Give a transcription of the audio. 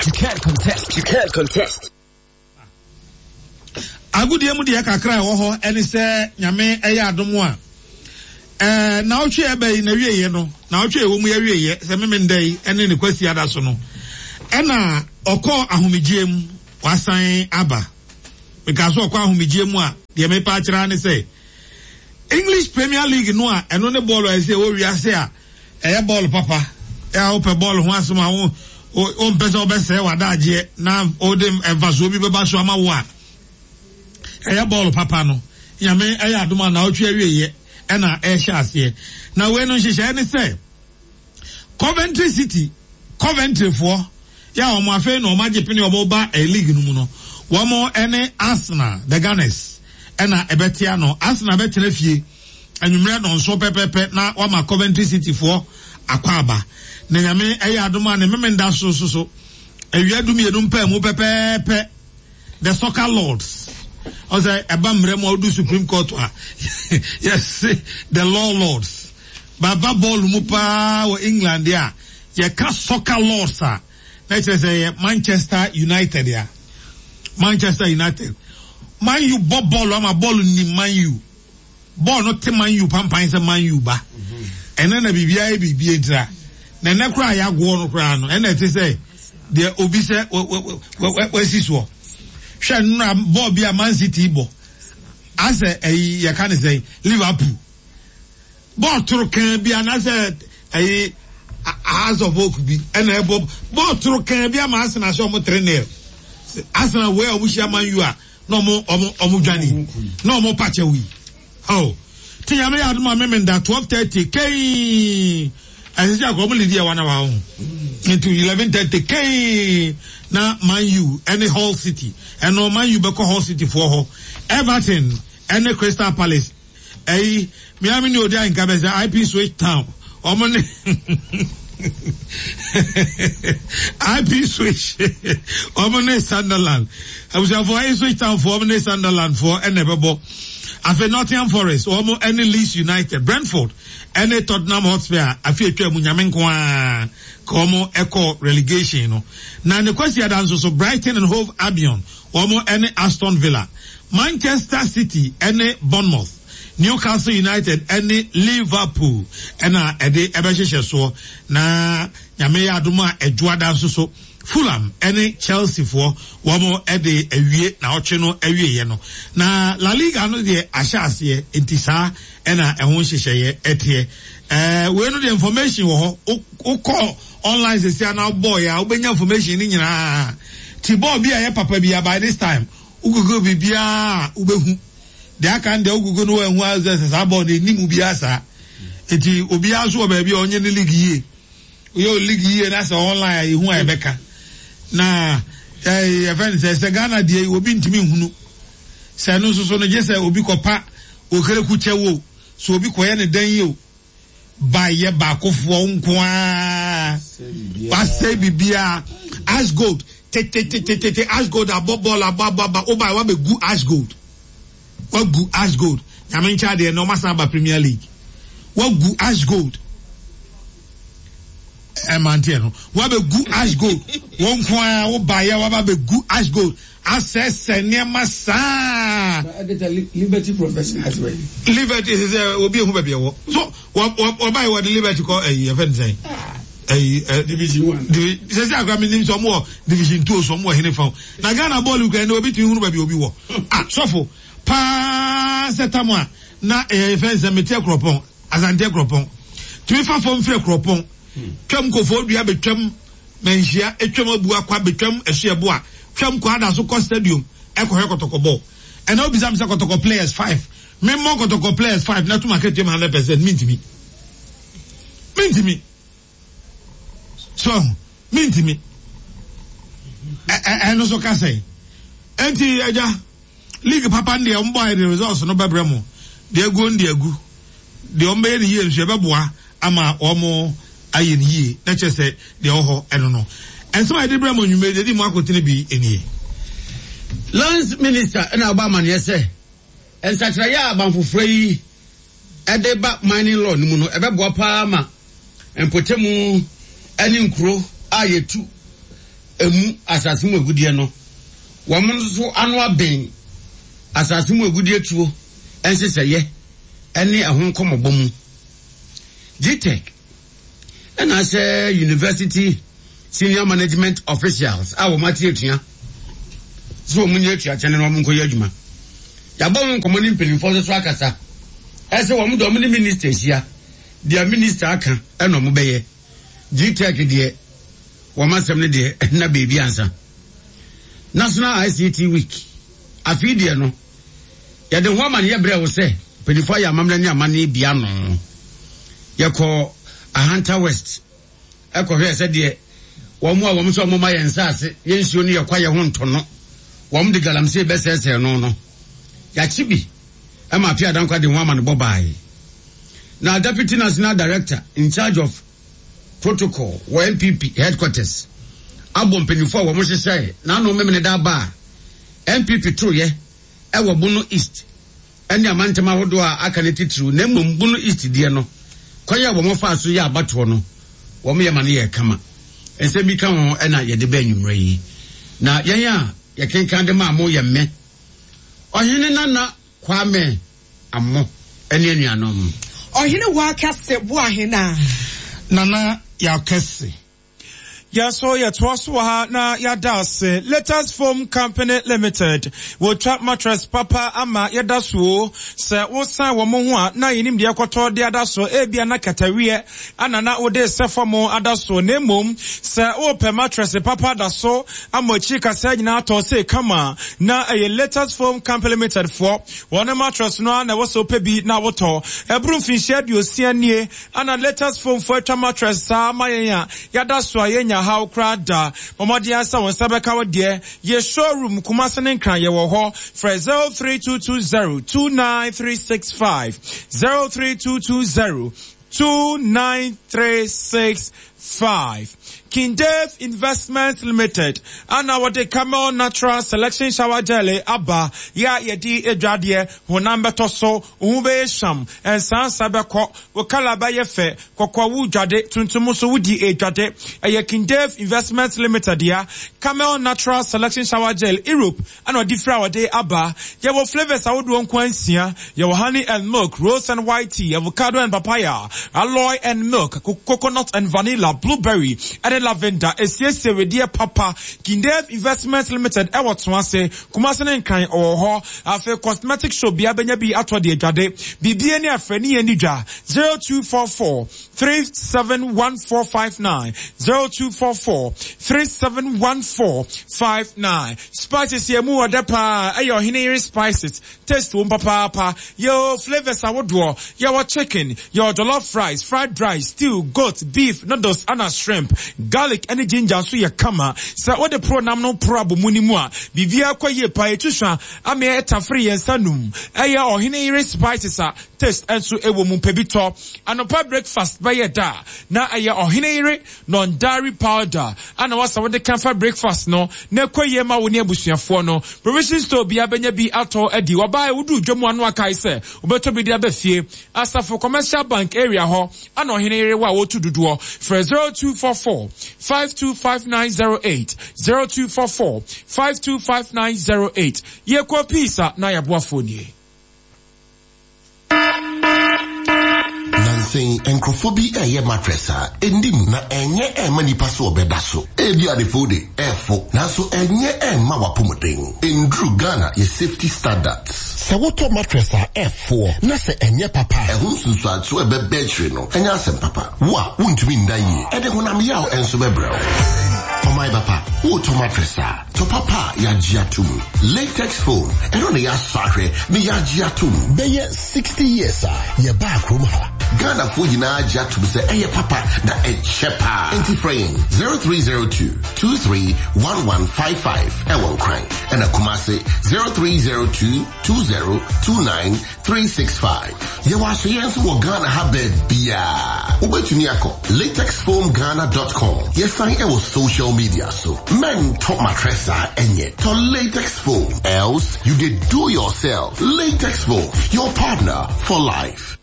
You can't contest. You can't contest. Agodie mu deɛ kakra a ɛwɔ hɔ ɛne sɛ Nyame ɛyɛ adom a ɛɛ naawɔtwe ɛbɛ yi na wieɛ no naawɔtwe ɛwɔ mu yɛ wieɛ sɛ meme nda yi ɛne ne kwasi ada so no ɛna ɔkɔ ahomegyeɛ mu wasan aba meka so ɔkɔ ahomegyeɛ mu a deɛ mepa akyerɛ ne sɛ English Premier League no a ɛno ne bɔɔlo a ɛsɛ ɛwɔ wiase a Ɛyɛ bɔɔl papa. Ɛ a wopɛ bɔɔl ho asɛm a, wo wompɛ sɛ wobɛsɛe w'adagyeɛ na wode mfasoɔ bi bɛba so ama wo a, ɛyɛ bɔɔl papa no. Nyame ɛyɛ adom a naawɔtwe awieɛ ɛna ɛrehyɛ aseɛ. Na wei no nhyehyɛeɛ ne sɛ Coventry City, Coventryfoɔ yɛ a wɔn afei na wɔn agye pene wɔn ba eh, league no mu no, wɔn ɛne Arsenal, the Gunners, ɛna ɛbɛte ano. Arsenal bɛtena fie. anwummerɛ nnɔnson pɛpɛpɛ na wama Coventry City foɔ akwaaba. Na Nyame ɛyɛ adom a ne Memenda so nso so awia dumienu mpaamu pɛpɛɛpɛ The Soccer Lords ɔsɛ ɛba mmerɛ mu a wodu Supreme Court a yɛse The Law Lords baba bɔɔlo mu paa wɔ England deɛ a yɛka Soccer Lords a na kyerɛ sɛ yɛ Manchester United a Manchester United Man U bɔ bɔɔlo ama bɔɔlo nim Man U Bɔɔl no te Man U pampan sɛ Man U ba. Ɛnɛ na biribiara yɛ biribi ntira. Na ɛnɛ koraa yɛagoɔ no koraa no, ɛna ɛte sɛ deɛ obi sɛ wasi soɔ. Hwɛ nnora bɔɔl bi a Man City bɔ. Asɛ ɛyi yɛka ne sɛ Liverpool. Bɔɔl toro kan bi anaasɛ ɛyi House of Oak bi ɛna ɛbɔ bɔɔl toro kan bi ama Arsenal hyɛ ɔmo 3-0. Arsenal wei a ɔmo hyia Man U a na ɔmo ɔmo ɔmo dwane na ɔmo pa kyɛw yi oh ti nyame yɛ adom a memenda 12:30 kɛn ɛsɛ sɛ akɔ ɔmo lidi ɛwa na wa ho nti 11:30 kɛn na Man U ɛne Hull City ɛno Man U bɛkɔ Hull City foɔ hɔ Everton ɛne Crystal Palace Ɛyi, me ara me ne odi ahenka bɛ sɛ IP Switch Town. Wɔn ne IP Switch. Wɔn ne Sunderland. Abusuafoɔ ayi Switch Town foɔ wɔn ne Sunderland foɔ ɛna ɛbɛbɔ. Afei Nottingham Forest wɔn ɛne Leeds United, Brentford ɛne Tottenham Hotspur afi atwa mu nyame nko ara ka wɔn ɛkɔ relegation no. Na ne kwasi ada nso so Brighton and Hove Albion Wɔn ne Aston Villa, Manchester City ne Bournemouth, Newcastle United ne Liverpool na ɛde ɛbɛhyehyɛ soɔ. Na Nyame yɛ adom a Ɛdwoada nso so Fulham ne Chelsea foɔ wɔn de awie naɔtwe no awieɛ no. Na La Liga no deɛ ahyɛ aseɛ nti saa na ɛho nhyehyɛeɛ ɛteɛ. Ɛɛ wei no deɛ information wɔ hɔ wokɔ online sɛsi a na wobɔɔ yɛ a wobɛnya information no nyinaa ti bɔɔl bi a ɛyɛ papa bi a by this time wo google biribiara a wobɛhu deɛ aka no deɛ wo google no wanhu a sɛ saa bɔɔl no ɛni mu biara saa nti obiara nso wɔ baabi a ɔnyɛ ne league yie woyɛ o league yie na sɛ online a yɛhu a yɛbɛka na yɛfɛ no sɛ sɛ Ghana deɛ obi ntumi nhunu sɛ ɛno nso so no gye sɛ obi kɔpa okereku kyɛw o sɛ obi kɔyɛ ne dan yi o ba yɛ baakofoɔ nko ara wasɛe biribiara ash gold tetetetete ash gold abɔ bɔɔl abɔ abɔ aba woba wabɛgu ash gold wagu ash gold nyame nkyɛ adeɛ na ɔmasan aba premier league wagu ash gold ɛmanteɛ no wabɛgu ash gold wɔn nko ara woba yɛ waba bɛgu ash gold Asɛesɛe nneɛma saa. Na ɛde Liberty Professionals wɛ. Liberty sɛ sɛ obi ehu baabi ɛwɔ. So wɔ wɔ wɔba yi wɔde Liberty kɔ ɛyi ɛfɛ ne sɛn. Ɛyi ɛ. Division one. Divi sɛ sɛ akora mi nim sɛ ɔmo wɔ division two so ɔmo wɔ hene fa. Na Ghana bɔɔlu kura ɛnna obi tumi hunu baabi obi wɔ. Ah sɔfo paa sɛ tam a na ɛyɛ fɛn sɛ mete akuropɔn Asante akuropɔn tumi fa fam firi akuropɔn twam kɔfɔ dua betwam. Manhyia, twam abu akwa betwam asuɛboa, twam kɔ ada so kɔ stadium kɔhwɛ kɔtɔkɔ bɔɔl. Ɛnɛ wobisa me sɛ kɔtɔkɔ players five, memmɔ kɔtɔkɔ players five na to m'akatua mu hundred percent, mentumi. Mentumi. So ahu, mentumi. Ɛno so ka sɛn? Enti agya, league papa no deɛ wɔn bɔ ayɛ de results no bɛbrɛ mo. Deɛ aguo no deɛ agu. Deɛ wɔn bɛyɛ no yie nso yɛbɛboa ama wɔn ayɛ no yie na kyerɛ sɛ deɛ ɛwɔ hɔ ɛno no. Nsɛm a yɛde brɛ mo anwummerɛ deɛ ɛdi mu akotene bi nie. Lands Minister na abɔ amaneɛ sɛ nsakyeraeɛ a aban foforɔ yi de ba mining law no mu no ɛbɛboa paa ma mpɔtamu ne nkuro a yɛtu. emu asase mu agudeɛ no, wɔn nso ano aben asase mu agudeɛ tuo nhyehyɛeɛ ne ɛho nkɔmmɔbɔ mu. GTEC ɛna ahyɛ University Senior Management Officials a wɔn ate atua sɛ wɔn nyɛ atuakyɛ no na wɔn nkɔyɛ adwuma. Yɛabɔ ho nkɔmmɔ ne mpanimfoɔ nso so akasa ɛsɛ wɔn de wɔn ne minister ahyia deɛ minister aka ɛna wɔn bɛyɛ. GTEC deɛ wɔn asɛm no deɛ ɛnna beebi ansa. National ICT Week afei deɛ no yɛde ho amaneɛ brɛ wo sɛ mpanimfoɔ ayɛ amammerɛ ne amanneɛ bi ano. Yɛkɔ Ahanta West ɛkɔhwɛɛ sɛdeɛ wɔn a wɔn nso wɔn ma yɛn nsaase, yɛn nsuo ne yɛn kwaeɛ ho ntɔnɔ, wɔn de galamsey bɛsɛɛsɛɛ no no. Yɛakye bi ma Appiah Dankwa de ho amanebɔ baae. Na Deputy National Director in charge of Protocol wɔ NPP headquarters abɔ mpanyinfoɔ a wɔn hyehyɛɛ n'ano Memeneda aba a NPP toeɛ ɛwɔ Bono East ne amantam ahodoɔ a aka no titiriw na mmom Bono East deɛ no, kwan a wɔfaa so yɛɛ abatoɔ no, wɔyɛ ma no yɛɛ kama. Nsɛm bi ka ho na yɛde ba anwummerɛ yi. Na yɛn a yɛkenkan de maa mo yɛ me, Ɔhene Nana Kwame Amoh ne anuanom. Ɔhene Wakɛse Boahenaa. Nana Yaw Kɛse. Yɛn nso yɛtoa so wɔ ha na yɛada ase. Latest Foam Company Limited, wɔtwa mattress papa ama yɛda so o. Sɛ wosan wɔn ho a, na yɛnim deɛ ɛkɔtɔ de ada so. Ebia na kataweɛ ana na wode sɛ fam ada so. Na mmom, sɛ wopɛ mattress papa da so ama akyiri kasaa nyinaa atɔ sei kama, na ɛyɛ Latest Foam Company Limited foɔ. Wɔn mattress no ara na ɛwɔ sɛ wopɛ bi na wotɔ. Ɛboro mfinhyia 60 nie Ana latest phone fo atwa mattress saa ama yɛn a yada so a yɛnnya haw koraa da. Bɔ mmɔden ara sɛ wo nsa bɛka wo deɛ. Yɛ showroom Kumasi ne Nkran yɛwɔ hɔ. Frɛ 03220 29365, 03220 29365. King Dave Investments Limited ana wɔde Camel Natural Selection Shower Gel aba yɛ a yɛde adwadeɛ, honam bɛtɔ so, wo ho bɛyɛ hwam, nsansa bɛkɔ, wo kala bɛyɛ fɛ, kɔkɔɔ wo dwade, tuntum nso wodi edwade. Ɛyɛ King Dave Investments Limited dea. Camel Natural Selection Shower Gel, Europe ɛna ɔde firi a ɔde aba. Yɛwɔ flavours ahodoɔ nko ara nsia. Yɛwɔ honey and milk, rose and white tea, avocado and papaya, aloe and milk, coconut and vanilla, blueberry ɛne lavender. Esiesie wedeɛ papa. King Dave Investments Limited ɛwɔ Toase, Kumase ne Nkran ɔwɔ hɔ. Afei cosmetic shop biara bɛnya bi atɔ de adwade. Biribiara ni a frɛ ne yɛn ni dwa 0244 371459 0244 371459. Spices yɛ mu ɔdɛ paa ɛyɛ ɔhene yere spices taste wom papaapa yɛwɔ flavours ahodoɔ yɛwɔ chicken yɛwɔ jollof rice fried rice stew goat beef noodles ana shrimp garlic ɛne ginger nso yɛ kama sɛ wode pro nam no pro abɔ mu no mu a biribiara kɔ yie paa yɛtu hwa ameɛ ɛtafere yɛn nsa num ɛyɛ ɔhene yere spices a taste nso ɛwɔ mu pɛ bi tɔ anɔpa breakfast bɛyɛ da na ɛyɛ ɔhene yere non-dairy powder a na wasa wode ka fa breakfast no na ɛkɔ yie ma wo ne abusuafoɔ no. Provision store biara bɛnya bi atɔ adi. Wɔbaeɛ woduu dwa mu ano akae sɛ wobɛtɔ bi de aba fie. Asafo Commercial Bank area hɔ ana ɔhene yere wɔ a wɔtu dodoɔ. Frɛ 0244 525908, 0244 525908. Yɛkɔ peace a na yɛaboafoɔ nie. Nansa yi, nkurɔfoɔ bi reyɛ mattress a ɛnni mu na ɛnyɛ ɛmma nnipa sɛ wɔbɛda so. Ebia adefo de, ɛfo, nanso ɛnyɛ ɛmma w'apɔmuden. Ɛnduru Ghana yɛ safety standards. Sɛ wotɔ mattress a ɛfoɔ na sɛ ɛnyɛ papa a, ɛho nsunsuansoɔ a ɛbɛba akyire no nyɛ asɛm papa. Wo a wontumi nna yie, ɛde honam yaw nso bɛbrɛ wo. Ɔman papa, woretɔ mattress a, Tɔ papa a yɛagye atom. Latex foam, ɛno na yɛasɔ ahwɛ na yɛagye atom. Bɛyɛ 60 years a yɛbaa kurom ha. Ghanafoɔ nyinaa agye atom sɛ ɛyɛ papa na ɛkyɛ paa. Enti frɛ yɛn 0302 231155 ɛwɔ Nkran ɛna Kumase 0302 2029 365. Yɛwɔ asoyɛ nso wɔ Ghana ha baabiara. Wobɛtumi akɔ latexfoamghana.com. Yɛsan ɛwɔ social media so. Mɛntɔ mattress a ɛnyɛ. Tɔ latex foam. Else you dey do yourself. Latex foam, your partner for life.